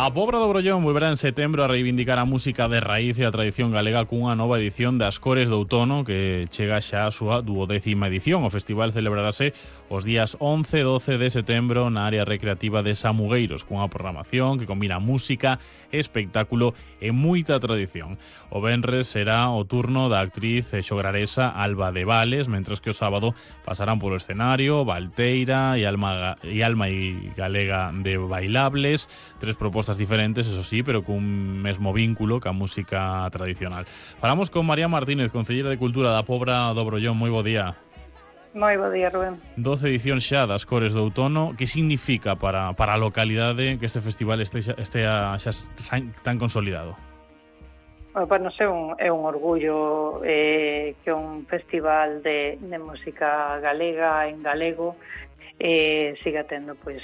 A Pobra do Brollón volverá en setembro a reivindicar a música de raíz e a tradición galega cunha nova edición das Cores do Outono que chega xa a súa 12ª edición. O festival celebrarase os días 11 e 12 de setembro na área recreativa de Samugueiros, cunha programación que combina música, espectáculo e moita tradición. O venres será o turno da actriz xograresa Alba de Vales, mentres que o sábado pasarán polo escenario Valteira e Alma e Galega de Bailables, tres propostas diferentes, eso sí, pero cun mesmo vínculo ca música tradicional. Falamos con María Martínez, concelleira de Cultura da Pobra do Brollón. Moi bo día. Moi bo día, Rubén. 12 edicións xa das Cores do Outono. Que significa para a localidade que este festival estea xa tan consolidado? Bueno, para nos é un orgullo que un festival de música galega en galego siga tendo pois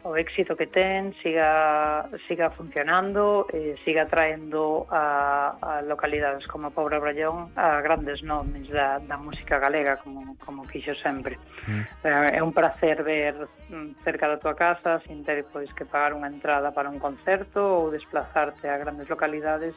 o éxito que ten, siga funcionando, siga traendo a localidades como a Pobra Brollón a grandes nomes da música galega como fixo sempre. É un placer ver cerca da tua casa sin ter pois que pagar unha entrada para un concerto ou desplazarte a grandes localidades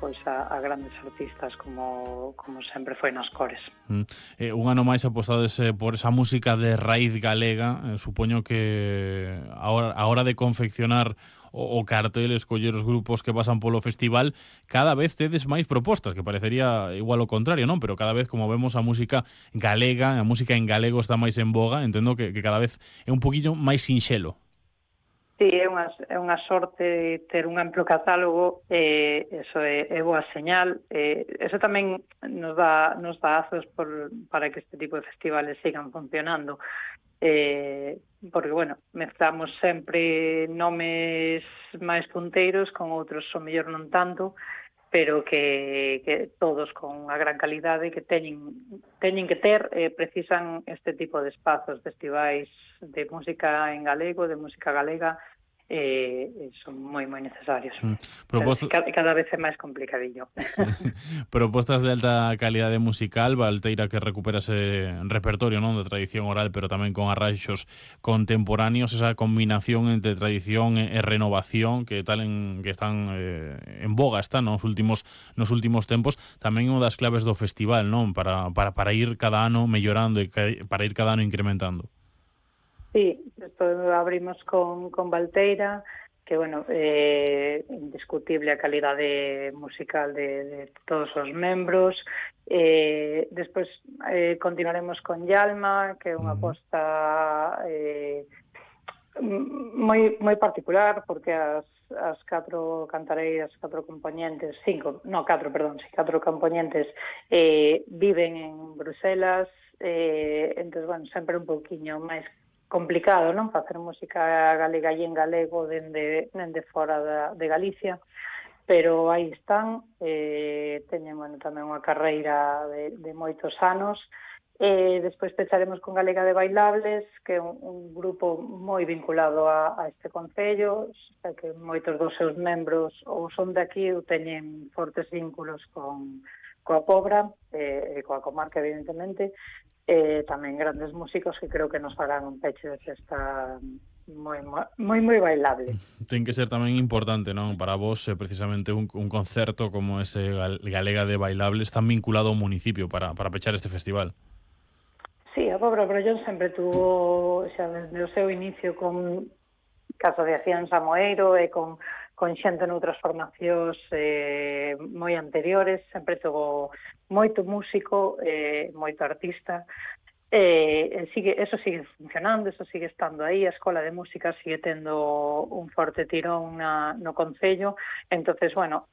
pois a grandes artistas como sempre foi nas Cores. Un ano máis apostades por esa música de raíz galega. Supoño que a hora de confeccionar o cartel, escoller os grupos que pasan polo festival, cada vez tedes máis propostas, que parecería igual o contrario, non? Pero cada vez, como vemos, a música galega, a música en galego está máis en boga. Entendo que cada vez é un poquillo máis sinxelo. Sí, é unha sorte ter un amplo catálogo, eso é boa señal. Eso tamén nos dá azos para que este tipo de festivales sigan funcionando. Porque, bueno, mezclamos sempre nomes máis punteiros con outros, o mellor non tanto, pero que todos con unha gran calidade que teñen que ter, precisan este tipo de espazos, festivais de música en galego, de música galega, son moi necesarios. Cada vez é máis complicadillo. Propostas de alta calidade musical, Valteira, que recupera ese repertorio, non, de tradición oral, pero tamén con arranxos contemporáneos, esa combinación entre tradición e renovación que están en boga nos últimos tempos. Tamén unha das claves do festival, non, para ir cada ano mellorando e para ir cada ano incrementando. Sí, despois abrimos con Valteira, que, bueno, indiscutible a calidade musical de todos os membros. Despois continuaremos con Yalma, que é unha aposta moi particular, porque as catro cantareiras, catro componentes viven en Bruselas, entón, bueno, sempre un pouquiño máis complicado, non? Facer música galega e en galego dende fora de Galicia, pero aí están, teñen, bueno, tamén unha carreira de moitos anos. Despois pecharemos con Galega de Bailables, que é un grupo moi vinculado a este concello, que moitos dos seus membros ou son de aquí ou teñen fortes vínculos coa Pobra, coa comarca, evidentemente, tamén grandes músicos que creo que nos farán un peche de festa moi bailable. Ten que ser tamén importante, non, para vos, precisamente un concerto como ese Galega de Bailables tan vinculado ao municipio para pechar este festival. Sí, a Pobra Brollón sempre tuvo, xa desde o seu inicio, con asociación Samoeiro e con xente noutras formacións moi anteriores, sempre tuvo moito músico, moito artista, eso sigue funcionando, eso sigue estando aí, a Escola de Música sigue tendo un forte tirón no concello. Entonces, bueno,